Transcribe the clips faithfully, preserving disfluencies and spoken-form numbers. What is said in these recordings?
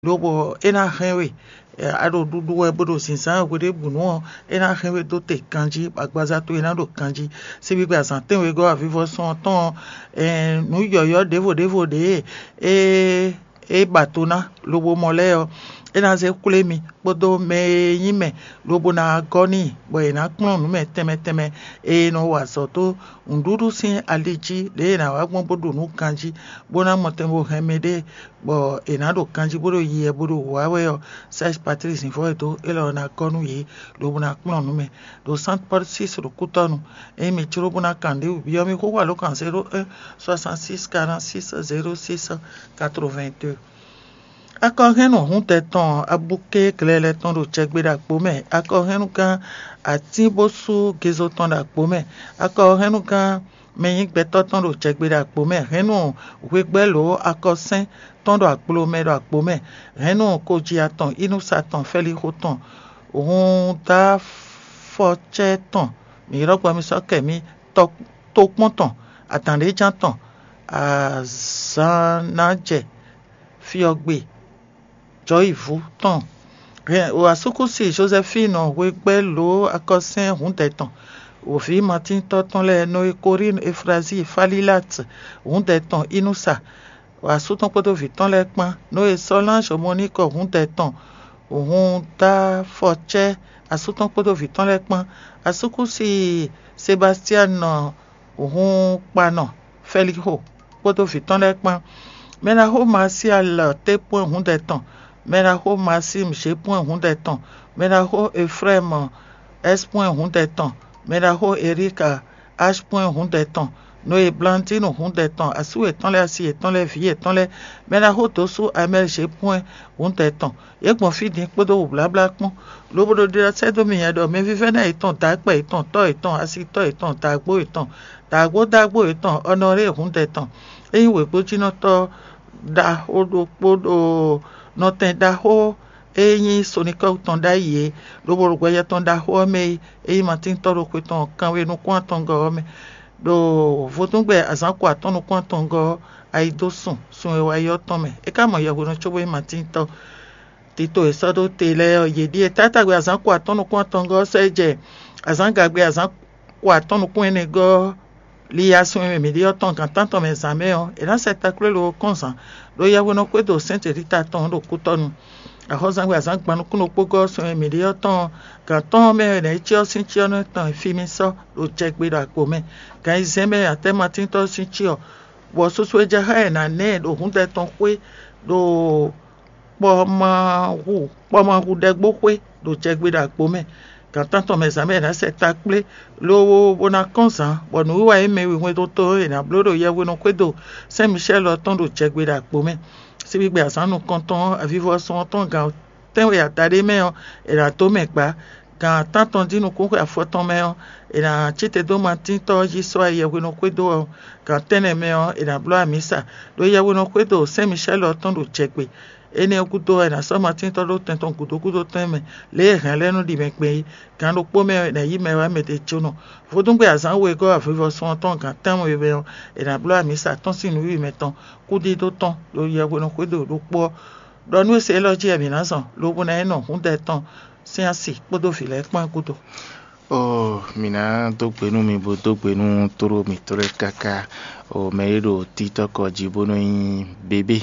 lobo é ná hɛn we. A ɖo ɖuɖu wɛ bó ɖo zǐnzán hweɖěbǔnu ɔ́, é ná hɛn we dó te ganjí, bɔ agbaza towe ná ɖo ganjí. Síbígbe azǎn tɛ́nwegɔ́ avivɔsɔn tɔn ɔ́, nǔ yɔ̌yɔ́ ɖěvo ɖěvo ɖě e é ba to ná lobo mɔ lɛ́ɛ ɔ́, é ná zé xwlé mi kpódó mɛ e nyí mɛ lobo ná gɔ́ n'i, bɔ è nǎ kplɔ́n nǔ mɛ tɛnmɛ tɛnmɛ e è nɔ wa azɔ̌ dó nǔɖuɖu sín ali jí, ɖěe è nǎ wá gbɔn bó ɖu nǔ ganjí, bó ná mɔ tɛn bó hɛn mɛɖée, bɔ è nǎ ɖo ganjí bó ɖo yiyi wɛ bó ɖo wǔ wá wɛ ɔ́, Serge Patrice Zǐnfɔ́n e dó élɔ́ ɔ́ ná gɔ́ nú yě, lobo ná kplɔ́n nǔ mɛ ɖo Sainte Paul six ɖo kútɔ́nu. Ényí mi jló bó ná kan nǔɖé wǔ byɔ́ mì xóxó alǒkan zéro un soixante six quarante six zéro six quatre-vingt-deux. Akɔhɛ́nnu hǔndɛ tɔn abúké glɛlɛ tɔn ɖo jɛgbe ɖo agbo mɛ, akɔhɛ́nnugán atínbósú gezo tɔn ɖo agbo mɛ, akɔhɛ́nnugán mɛ nyí gbɛtɔ́ tɔn ɖo jɛgbe ɖo agbo mɛ, hɛ̌nnu hwegbɛ́lǒ akɔsɛ́n tɔn ɖo akplo mɛ ɖo agbo mɛ, hɛ̌nnu koji atɔn, inúsa tɔn, fɛlixo tɔn, hun dó afɔcɛ́ tɔn, mǐ ylɔ́ gbɔ mì sɔ́ kɛ mì, tokpɔ́n tɔn, adǎnɖéjan tɔn, azǎn ná jɛ fyɔ́gbe jɔ̌yivú tɔn. Hɛn asúkúsi Jozɛfínu hwegbɛ́ lǒ akɔsɛ́n hǔndɛ tɔn, wǒví matíntɔ́ tɔn lɛ́ɛ Noe Korín Eflazíi Falílat hǔndɛ tɔn Inúsa, asú tɔn kpódó vǐ tɔn lɛ́ɛ kpán, Noe Sɔ́lán Zomɔníkɔ hǔndɛ tɔn, hun dó afɔcɛ́ asú tɔn kpódó vǐ tɔn lɛ́ɛ kpán, asúkúsi Sebastianu hun kpanɔ Fɛlixo kpódó vǐ tɔn lɛ́ɛ kpán. Mɛɖaxó Masial tépwɛ́n hǔndɛ tɔn, mɛɖaxó Masim Zépwɛ́n hǔndɛ tɔn, mɛɖaxó Efrɛ́mu Ɛ́spwɛ́n hǔndɛ tɔn, mɛɖaxó Erika Aspwɛ́n hǔndɛ tɔn, Noe Blandínu hǔndɛ tɔn, asú yětɔn lɛ́ɛ, asi yětɔn lɛ́ɛ, vǐ yětɔn lɛ́ɛ, mɛɖaxó dǒsú Amɛ́l Zépwɛ́n hǔndɛ tɔn. Yě gbɔn fí din kpódó wǔbláblá kpɔ́n, lobo ɖo ɖiɖɔ sɛ́ dó mi nyɛ ɖɔ mɛvívɛ́ná yětɔn, dǎkpɛ yětɔn, tɔ́ yětɔn, asitɔ́ yětɔn, dǎgbó yětɔn, dǎgbódágbó yětɔn, Ɔnɔlée hǔndɛ tɔn, é nyí wěgbójínɔtɔ́ ɖaxó ɖokpó ɖo nɔtɛn ɖaxó e nyí Sonikɔ́ɔ tɔn ɖ'ayǐ é, lobo ɖo gbɛjɛ tɔn ɖaxó ɔ́ mɛ é, é nyí Matíntɔ́ ɖo xwe tɔn kanwe nukún atɔngɔ́ ɔ́ mɛ, ɖo vodúngbɛ azǎn ko atɔ́ɔ́n nukún atɔngɔ́ ɔ́, ayi dó sun sun e wá yi ɔ́ tɔn mɛ. É ka mɔ yɛhwenɔ cóbó nyí Matíntɔ́. Tito e sɔ́ ɖó te lɛ́ɛ ɔ́, yě ɖíe: Taátagbe azǎn ko atɔ́ɔ́n nukún atɔngɔ́ ɔ́ sɔ́ yi jɛ azǎngagbe azǎn ko atɔ́ɔ́n nukún ɛnɛgɔ́ ɔ́, li ya sun e mɛ mǐ ɖe ɔ́ tɔn gan tántɔn mɛ zǎn mɛ ɔ́, è nǎ sɛ takplé lo ɔ́ kɔn zǎn, ɖó yɛhwenɔ xwedó Sɛ́nte Rita tɔn ɔ́ ɖo kútɔ́nu. Axɔ́zangbe azǎn gban nukúnnú kpógɔ́ ɔ́ sun e mǐ ɖe ɔ́ tɔn, gan tɔn mɛ wɛ è nǎ yi cyɔ sín cyɔ nɔ tɔn e fi mi sɔ́ ɖo jɛgbe ɖo agbo mɛ. Gan ayizɛ́n mɛ atɛ́matíntɔ́ sín cyɔ, bɔ susu e jɛ xá ɛ nǎ nɛ ɛ ɖo hǔndɛ tɔn xwé ɖo kpɔmahu kpɔmahu ɖɛgbó xwé ɖo jɛgbe ɖo agbo mɛ. Gan tántɔn mɛ zǎn mɛ è nǎ sɛ takplé, lobo bó ná kɔn zǎn, bɔ nǔwiwa e mɛ wihwɛndo tɔn e è nǎ bló ɖo yɛhwenɔ xwédo Sɛ́n Micɛ́l ɔ́ tɔn ɖo jɛgbe ɖo agbo mɛ. Síbígbe azǎn nukɔntɔn ɔ́, avivɔsɔn ɔ́ tɔn gan tɛ́nwe adaɖé mɛ ɔ́, è nǎ dó mɛ gbǎ. Gan tántɔn dín nukúnxwe afɔtɔn mɛ ɔ́, è nǎ cí te dó Matíntɔ́ ɔ́ jí sɔ́ ayɛ hwenu xwedó ɔ́, gan tɛ́nnɛ mɛ ɔ́, è nǎ bló amǐsa, ɖó yɛhwenɔ xwedó Sɛ́n Micɛ́l ɔ́ tɔn ɖo jɛ gbe. Énɛ́ ɔ́ gúdo ɔ́, è nǎ sɔ́ Matíntɔ́ ɖó tɛn tɔn gǔdo gúdo tɛn mɛ, lě e hɛ̌nlɛ́nú ɖi mɛ gbɛn é. Gan ɖokpó mɛ ɔ́, è nǎ yí mɛ wá mɛ ɖě jónɔ. Vodúngbe azǎn wegɔ́ avivɔsɔn ɔ́ tɔn gan tɛ́nwe mɛ ɔ́, è nǎ bló amǐsa tɔn sín nǔwiwa mɛtɔn, kúdídó tɔn, ɖo yɛhwenɔ xwedó ɖokpó ɔ́. Ɖɔ nú e se élɔ́ jí wɛ mǐ ná zɔn, lobo ná yi nɔ húndɛ tɔn sín asi kpódó vǐ lɛ́ɛ kpán gúdo. Ó, mǐ ná dó gbe nú mi, bó dó gbe nú tóɖó mǐtɔn lɛ́ɛ káká. Ó, mɛ e ɖo títɔ́kɔ jí bó nɔ nyí bébé,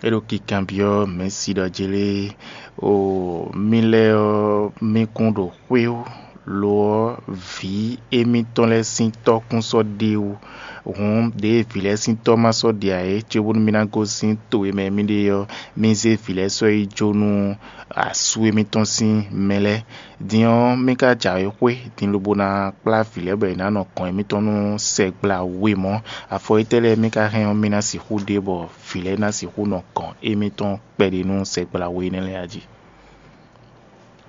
é ɖo kikanbyɔ́ mɛ̌si ɖɔ jlé. Ó, mì lɛ́ɛ ɔ́, mì kún ɖo xwé ó, lo ɔ́, vǐ émítɔn lɛ́ɛ sín tɔ́ kún sɔ́ ɖe wú. Hǔn ɖěe vǐ lɛ́ɛ sín tɔ́ ma sɔ́ ɖe ǎ é, cóbónú mì ná gosín to e mɛ mì ɖe ɔ́, mì zé vǐ lɛ́ɛ sɔ́ yi jó nú asú émítɔn sín mɛ lɛ́ɛ. Din ɔ́, mì ka jǎwe xwé din lobo ná kplá vǐ lɛ́ɛ bɔ yě ná nɔ gɔ̌n émítɔn nú sɛgbla we mɔ̌. Afɔ étɛ́ lɛ́ɛ mì ka hɛn ɔ́, mì ná sixú ɖe bɔ vǐ lɛ́ɛ ná sixú nɔ gɔ̌n émítɔn kpɛɖé nú sɛgbla we énɛ́ lɛ́ɛ a jí?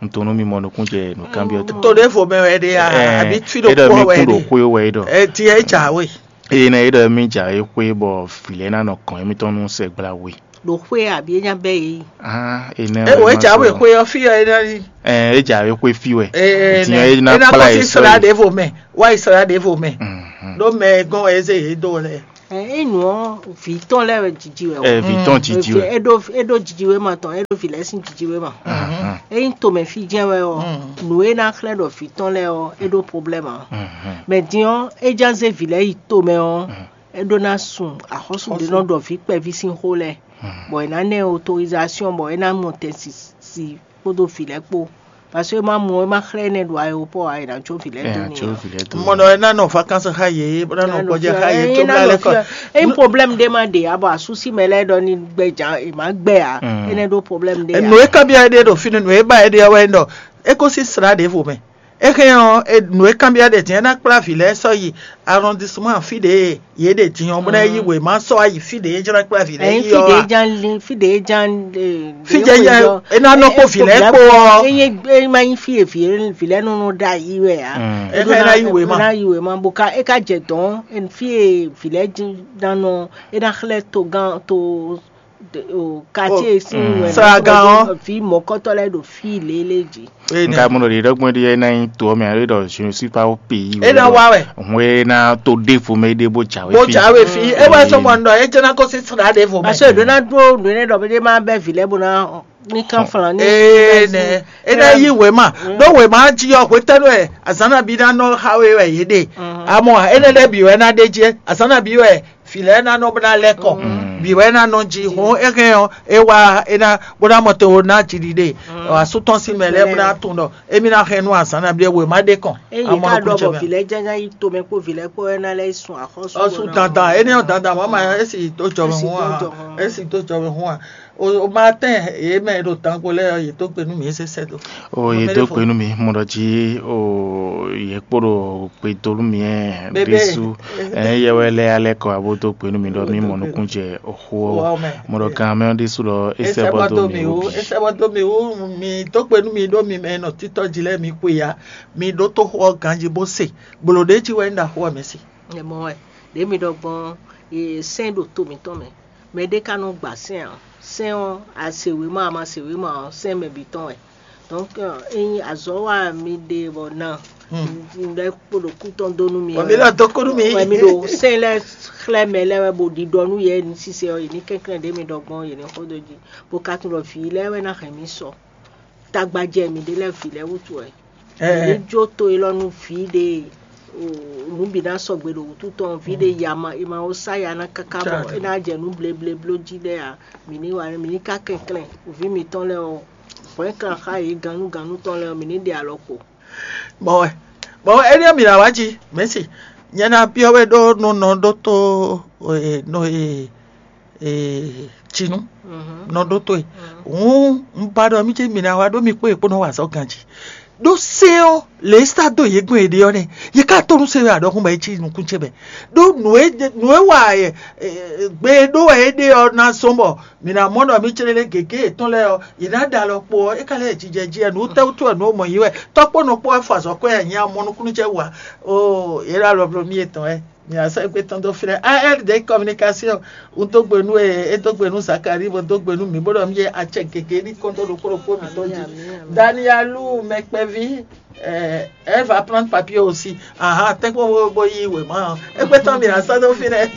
Un tunwun nú mi mɔ nukúnjɛ nǔkanbyɔ́ tɔn. To ɖěvo mɛ wɛ ɖe a? Ɛɛ, Àbí fí é ɖɔ ɖokpó mi wɛ kún ɖo ɖe? Xwé wɛ é ɖɔ. Ɛ ti ɛ jǎwe. Eye nɛ é ɖɔ mi jǎwe xwé bɔ vǐ lɛ́ɛ ná nɔ gɔ̌n émítɔn nú sɛgbla we. Ɖo xwé àbí é nya bɛ́ yě yi? Ah, é nɛ Ɛ wɛ é ma jǎwe sɔ. Xwé ɔ́ fí ɔ́ é ná yi. Ɛɛ, é jǎwe xwé fí wɛ. Ɛ ɛ Din nɛ ɔ́, é ná é ná kplá kɔ yě sí sɔ́ sra yi. Ɖěvo mɛ, wá yi sra ɖěvo mɛ. Mhm. Ɖó mɛ gɔ́n wɛ é zé yě dó lɛ. Ɛ, é nǔ ɔ́, vǐ tɔn lɛ́ɛ wɛ jiji wɛ o. Ɛ, vǐ tɔn jiji wɛ. É ɖó é ɖó jijiwéma tɔn, é ɖó vǐ lɛ́ɛ sín jijiwéma. Ényí tomɛfí jɛ́n wɛ ɔ́, nǔ e ná xlɛ́ ɖɔ vǐ tɔn lɛ́ɛ ɔ́, é ɖó problème ǎ. Mɛ din ɔ́, é ján zé vǐ lɛ́ɛ yi tomɛ ɔ́, é ɖó ná sun axɔ́súɖénɔ ɖɔ vǐ kpɛví sín xó lɛ́ɛ, bɔ è nǎ ná ɛ autorisation bɔ é ná mɔ tɛn si kpódó vǐ lɛ́ɛ kpó. Parce que é má mɔ é má xlɛ́ énɛ́ ɖo aéroport ǎ, è nǎ jó vǐ lɛ́ɛ dó n'i. Mɔ ɖɔ é ná nɔ vacances xá yě, bó ná nɔ gbɔjɛ xá yě, tó bla lɛ́ kɔ. Ényí problème ɖé má ɖe ǎ, bɔ asúsí mɛ lɛ́ɛ ɖɔ ní gbɛ jà, è má gbɛ ǎ, énɛ́ ɖó problème ɖé ǎ. Nǔ e kanbyɔ́ é ɖe ɖo fínɛ́, nǔ e ba é ɖe ɔ́ wɛ ɖɔ é gosín sla ɖěvo mɛ. É hɛn ɔ́, nǔ e kanbyɔ́ ɖe din é ná kplá vǐ lɛ́ɛ sɔ́ yi arrondissement fí ɖě yě ɖe din ɔ́, bó ná yí wěma sɔ́ wá yi fí ɖě é jlá kplá vǐ lɛ́ɛ Ɛyin yi fí ɖě ɔ́. Jan lin fí ɖě Jan Fí jɛ yɛ é ná nɔ kpó vǐ lɛ́ɛ kpó ɔ́. Eye eye ma nyi fí e vǐ vǐ lɛ́ɛ nɔnɔ ɖo ayi wɛ a. É hɛn ná yí wěma. Ná yí wěma bó ká é ká jɛ dɔn fí e vǐ lɛ́ɛ jí ná nɔ é ná xlɛ́ togán to o quartier sín wɛ Sragán ɔ́. Vǐ mɔ̌kɔtɔ́ lɛ́ɛ ɖo fí lélé jí. Nka mɔ ɖe ɖɔgbɔn ɖi ena nyi to ɔmɛ alo ɖɔ je ne suis pas au pays. É ná wá wɛ. Hɔn ena to ɖevo mɛ ɖe bó dza wɛ. Bó dza wɛ fi é wá sɔmɔ nɔ é jẹ́ ná kó sí sra ɖe vo mɛ. Parce que ɖo ná dúró nǔ énɛ́ ɖɔ bó dé má bɛ́ vǐ lɛ́ɛ bó ná ní kán flan ní. Ee nɛ é ná yí wěma ɖó wěma jí ɔ hwetɛ́nu wɛ azǎn nabí ná nɔ xa we wɛ yě ɖe amɔ énɛ́ lɛ́ɛ bǐ wɛ ná ɖe jí azǎn nabí wɛ fǐ lɛ́ɛ ná nɔ bó ná lɛ́ kɔ bǐ wɛ ná nɔ jí hɔn é hɛn ɔ́ é wá é ná bó ná mɔ te wo ná jiɖiɖe asú tɔn sín mɛ lɛ́ɛ bó ná tunwun ɖɔ émí ná hɛn nú azǎn nabí wěma ɖe kɔn Eyi amɔ ká nɔ ɖɔ bɔ kúnjɛ mɛ. Vǐ lɛ́ɛ jɛ́n ná yi tomɛ kpó vǐ lɛ́ɛ kpó wɛ ná lɛ́ yi sun axɔ́sú. Ɔsùn dandan ene ɔ dandan mama esi tó jɔ mɛ Esi hún tó wa jɔ hún. Esi tó jɔ mɛ hún wa o o ma tɛ ye mɛ ɖo tanko lɛ ye tó gbenu mi ese sɛ do. O ye do kpenu mi mɔ ɖɔ dzi o ye kpɔɖo kpedolu mi ɛ Bebe. Ɖesu ɛ yɛ wɛ lɛ alɛ kɔ abo do kpenu mi ɖɔ mi mɔ nukun jɛ oxo Wa mɛ. Mɔ ɖɔ gan mɛ ɖesu ɖɔ esɛ Ese bɔ bɔ do do mi mi wo wo bi. Ese bɔ do mi wo mi tó gbenu mi ɖo mi mɛ nɔ títɔ dzi lɛ mi kpe ya mi ɖó tó xɔ ganji bó se gbolo ɖe dzi wɛ ń da xɔ mɛ si. Ɛ mɔ wɛ ɖě mi ɖɔ gbɔn e sɛn ɖo to mǐtɔn mɛ mɛ ɖé ka nɔ gba sɛn a sɛn ɔ́ ase wěma a ma se wěma ɔ́ sɛn mɛ bǐ tɔn wɛ. Donc ényí azɔ̌ wa mi ɖe bɔ na lɛ kpo ɖo kú tɔn dó nú mi Wɔ mi lɔ do kunu mi. Wɛ mi ɖo sɛn lɛ xlɛ́ mɛ lɛ wɛ bo ɖiɖɔ nú yɛ ní sise ɔ́ yě ní kɛnklɛ́n ɖě mi ɖɔ gbɔn yě ní xɔ dó jí bo ka tunɔ vǐ lɛ wɛ ná hɛn mi sɔ tagbajɛ mi ɖé lɛ vǐ lɛ wútu wɛ. Ní jó to élɔ́ nú vǐ ɖe nǔ bǐ ná sɔgbe ɖo wútu tɔn vǐ ɖe ya ma è ma wo sá ya ná káká bɔ é ná jɛ nú blebleblo jí ɖɛ a mǐ ní wa mǐ ní ká kɛnklɛ́n vǐ mǐtɔn lɛ́ɛ ɔ́ hwɛ̌nklan xá yě gannúgannú tɔn lɛ́ɛ ɔ́ mǐ ní ɖe alɔ kpo. Bɔwɛ bɔwɛ éɖíɔ mǐ ná wá jí mɛ̌si nyɛ ná byɔ́ we ɖó nú nɔ ɖótó nɔ e cinú nɔ ɖótó e hǔn un ba ɖɔ mí cé mǐ ná wá ɖó mi kpó e kpó nɔ wa azɔ̌ ganjí ɖó sɛ́n ɔ́ lě sá dó yě gbɔn è ɖe ɔ́ nɛ́ yě ká tó nú se wɛ aɖɔkún bɔ é cí nukún ce mɛ ɖó nǔ e nǔ e wa gbe e ɖó wɛ é ɖe ɔ́ ná zɔ́n bɔ mǐ ná mɔ ɖɔ mí clé lé gěgé yětɔn lɛ́ɛ ɔ́ yě ná ɖe alɔ kpo ɔ́ é ka lɛ́ jijɛ jí wɛ nǔ tɛ́wútu wɛ nǔ mɔ yě wɛ tɔ́kpó nɔ kpó wɛ fɔ azɔ̌ kɔ́ yɛ nyi amɔ nukúnnú cɛ wa ó yě ɖo alɔ bló mí yětɔn wɛ mǐ ná sɔ́ égbé tɔn dó flɛ́ A R D communication un dó gbe nú e é dó gbe nú Zakari bó dó gbe nú mǐ bó ɖɔ mí yé acɛ gěgé ní kɔn dó ɖokpó ɖokpó mǐtɔn jí Danielu mɛkpɛví elle va prendre papier aussi ahan tɛ́nkpɔ́n bó yí wěma ɔ́ égbé tɔn mǐ ná sɔ́ dó fínɛ́.